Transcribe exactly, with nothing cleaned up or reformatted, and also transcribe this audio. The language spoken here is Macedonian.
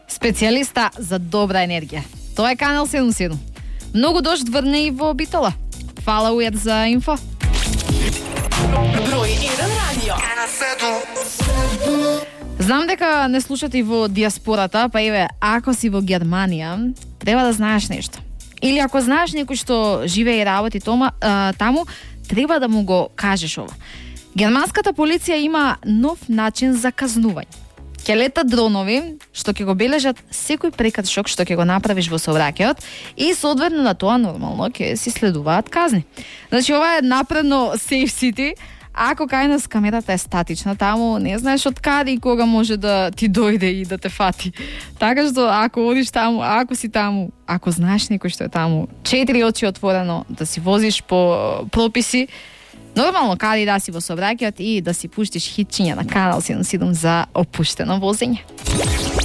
Специјалиста за добра енергија. Тоа е Канал седумдесет и седум. Многу дожд врне и во Битола. Фала Ујат за инфо. Број еден радио. Знам дека не слушате и во диаспората, па еве, ако си во Германија, треба да знаеш нешто. Или ако знаеш некој што живее и работи тома, а, таму, треба да му го кажеш ова. Германската полиција има нов начин за казнување. Ќе летат дронови што ќе го бележат секој прекршок што ќе го направиш во сообраќајот и соодветно на тоа нормално ќе си следуваат казни. Значи ова е напредно Safe City. Ако кај нас камерата е статична, таму не знаеш од каде и кога може да ти дојде и да те фати. Така што ако одиш таму, ако си таму, ако знаеш некој што е таму, четири очи отворено, да си возиш по прописи, нормално каде да си во сообраќајот и да си пуштиш хитчиња на Канал седумдесет и седум за опуштено возење.